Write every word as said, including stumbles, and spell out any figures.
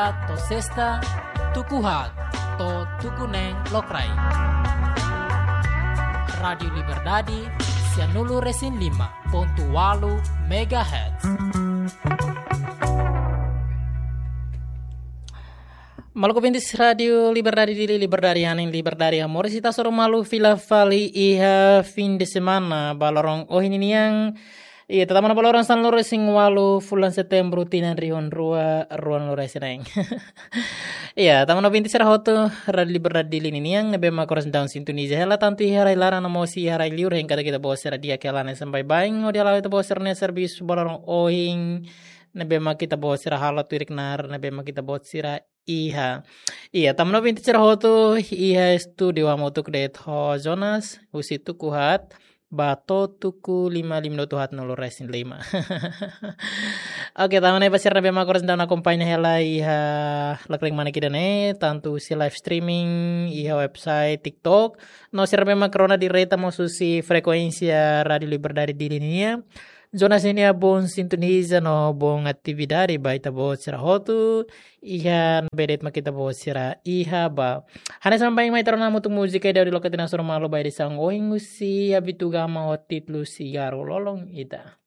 to'o sesta, tuku haat to'o tuku neen lokraik. Rádiu Liberdade, sianulu-resin-lima pontu ualu megahertz. Maluk ouvintes Rádiu Liberdade Dili, liberdade hanesan liberdade amor, ita hasoru malu fila fali iha fim de semana ba loron ohin ninian. Ita tama ona ba loron sanulu-resin-ualu fulan Setembru tinan rihun rua ruanulu-resin-neen. Ita tama ona ouvintes sira hotu Rádiu Liberdade Dili ninian, ne'ebé mak oras daudaun sintoniza hela tantu iha rai-laran no mós iha rai-liur, hein kada kita-boot sira di'ak hela hanesan baibain, hodi hala'o ita-boot sira-nia servisu ba loron ohin, ne'ebé mak kita-boot sira halo tuir knaar ne'ebé mak kita-boot sira iha. Ita tama ona ouvintes sira hotu iha estúdiu hamutuk de'it ho Jonas, husi tuku haat ba to'o tuku lima, lima minutu haatnulu-resin-lima. Oke, tama ona ba sira ne'ebé mak oras daudaun akompaña hela iha lakreng manak ida-ne'e, tantu husi live streaming iha website, TikTok, no sira ne'ebé mak rona direta mós husi frekuénsia Rádiu Liberdade Dili nian. Jonas ninia bom sintoniza no bom atividade ba ita-boot sira hotu iha ne'ebé de'it mak ita-boot sira iha ba. Hanesan baibain mai ita rona hamutuk múzika ida hodi loke ita-nia hasoru malu ba edisaun ohin husi Abitu Gama ho títulu Sigarru Lolon Ida.